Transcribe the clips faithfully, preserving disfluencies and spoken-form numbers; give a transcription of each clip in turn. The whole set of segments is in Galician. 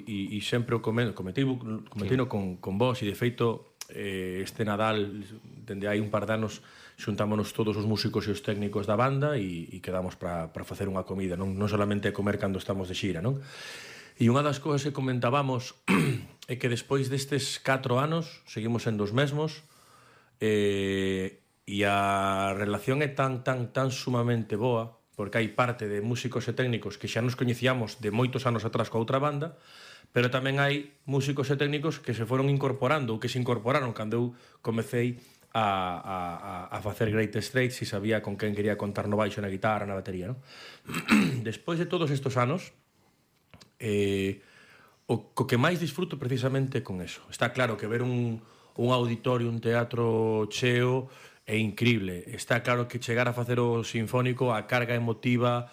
e sempre o comentei con, con vos, e de feito eh, este Nadal, dende hai un par de anos, xuntámonos todos os músicos e os técnicos da banda e, e quedamos para facer unha comida, non, non solamente comer cando estamos de xira, non? E unha das cousas que comentábamos é que despois destes catro anos seguimos sendo os mesmos, eh, e a relación é tan, tan, tan sumamente boa, porque hai parte de músicos e técnicos que xa nos coñecíamos de moitos anos atrás coa outra banda, pero tamén hai músicos e técnicos que se foron incorporando ou que se incorporaron cando eu comecei a, a, a facer Greatest Straits e sabía con quen quería contar no baixo, na guitarra, na batería, non? Despois de todos estes anos, eh, o, o que máis disfruto precisamente con eso. Está claro que ver un, un auditorio, un teatro cheo é incrible. Está claro que chegar a facer o sinfónico, a carga emotiva,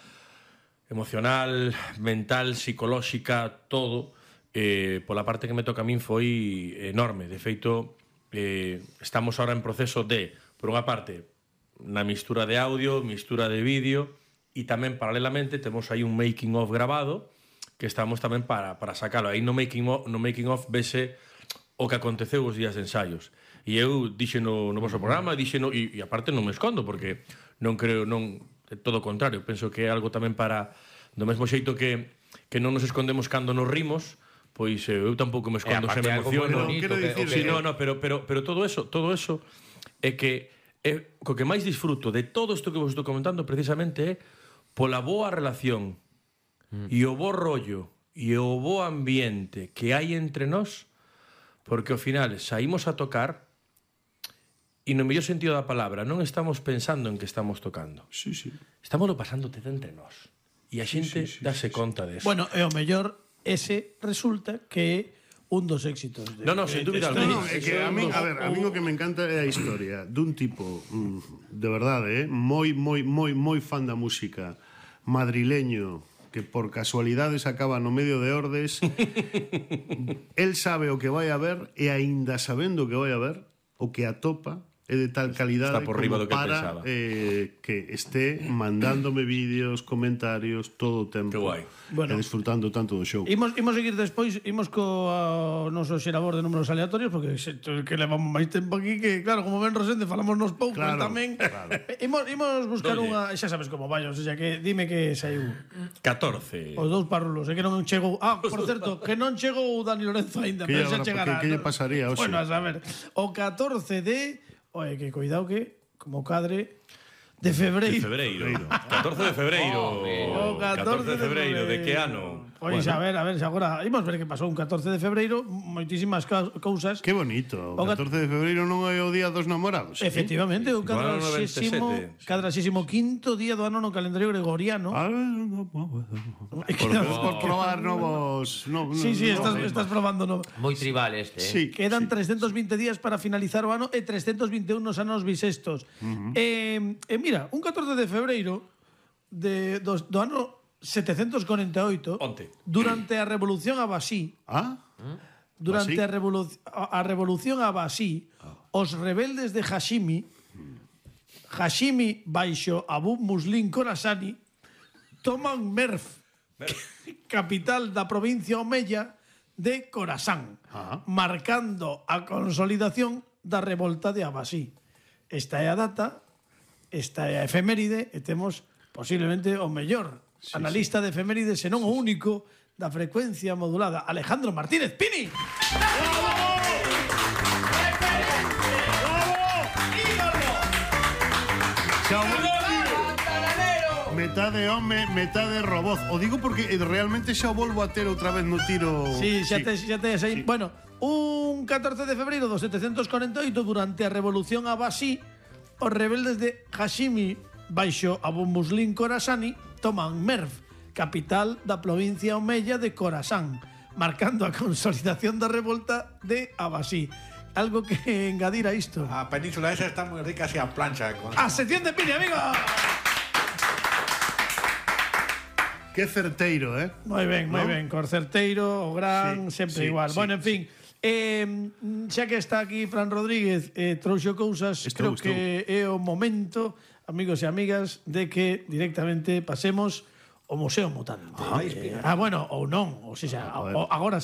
emocional, mental, psicolóxica, todo, eh, pola parte que me toca a min foi enorme. De feito, eh, estamos ahora en proceso de, por unha parte, na mistura de audio, mistura de vídeo, e tamén, paralelamente, temos aí un making of grabado, que estamos tamén para, para sacalo. Aí no making of, no making of vese o que aconteceu os días de ensaios. E eu dixe no, no vosso programa, dixe no, e, e aparte non me escondo, porque non creo, non, é todo o contrario, penso que é algo tamén para, do mesmo xeito que, que non nos escondemos cando nos rimos, pois eu tampouco me escondo, se me emociono. No, quero dicir, sí, no, no, pero, pero, pero todo eso, todo eso é que é, co que máis disfruto de todo isto que vos estou comentando precisamente é pola boa relación mm. e o bo rollo e o bo ambiente que hai entre nós, porque ao final saímos a tocar e no mellor sentido da palabra non estamos pensando en que estamos tocando. Sí, sí. Estamos lo pasando de entre nós. E a xente sí, sí, sí, dáse sí, conta de eso. Bueno, e o mellor ese resulta que é un dos éxitos. De, no, no, sin dúbida alguna. No, no, é que a mí, a ver, a mí o que me encanta é a historia dun tipo, de verdade, eh, moi, moi, moi, moi fan da música, madrileño, que por casualidades acaba no medio de Ordes. El sabe o que vai a ver e aínda sabendo o que vai a ver, o que atopa é de tal calidade por riba do que para eh, que esté mandándome vídeos, comentarios todo o tempo. Que guai. Bueno, e disfrutando tanto do show. Imos, imos seguir despois, imos co a, noso xerador de números aleatorios, porque se, que levamos máis tempo aquí, que claro, como ben Rosende, falamos nos poucos claro, tamén. Claro. Imos, imos buscar Dolle. unha, xa sabes como vai, o sea, que dime que saiu catorce. Os dous parrulos, é que non chegou. Ah, por certo, que non chegou Dani Lorenzo aínda, pero xa chegará. Que lle pasaría hoxe? Bueno, a saber, o catorce de Oye, que cuidado que, como cadre, de febreiro. De febreiro. catorce de febreiro. Oh, catorce de febreiro. De que ano? Pois, bueno. a ver, a ver, se agora imos ver que pasou un catorce de febreiro, moitísimas cousas. Que bonito. O catorce de febreiro non é o día dos namorados. Efectivamente, o cadraxésimo, cadraxésimo quinto día do ano no calendario gregoriano. Ah, no, por, por probar novos... No, sí, sí, estás, estás probando novos. Moi tribal este, eh? Sí, quedan sí. trescentos vinte días para finalizar o ano e trescentos vinte e un nos anos bisestos. Uh -huh. eh, eh, mira, un catorce de febreiro de, do, do ano setecentos corenta e oito, Onte. durante a Revolución Abasí, ah? durante a, revolu a Revolución Abasí, ah. os rebeldes de Hashimi, Hashimi baixo Abu Muslin Khorasani, toman Merv, capital da provincia omeya de Khorasán, ah. marcando a consolidación da revolta de Abasí. Esta é a data, esta é a efeméride, e temos posiblemente o mellor sí, analista sí. de efemérides, senón sí, o único da frecuencia modulada, Alejandro Martínez Pini. ¡Bravo! Metade home, metade robot. O digo porque realmente xa o volvo a ter outra vez no tiro. Sí, xa sí. tes, xa tes aí. Sí. Bueno, un catorce de febreiro do setecentos corenta e oito, durante a Revolución Abasí, os rebeldes de Hashimi baixo Abu Muslin Khorasani toman Merv, capital da provincia omeya de Khorasán, marcando a consolidación da revolta de Abasí. Algo que engadir a isto. A península esa está moi rica así a plancha. Con... A sección de Pini, amigo. Que certeiro, eh? Moi ben, moi ¿no? ben, cor certeiro, o gran, sí, sempre sí, igual. Sí, bueno, en fin, eh, xa que está aquí Fran Rodríguez, eh, trouxo cousas, estou, creo estou. que é o momento, amigos e amigas, de que directamente pasemos o Museo Mutante. Ah, eh, ah bueno, ou non, ou seja, agora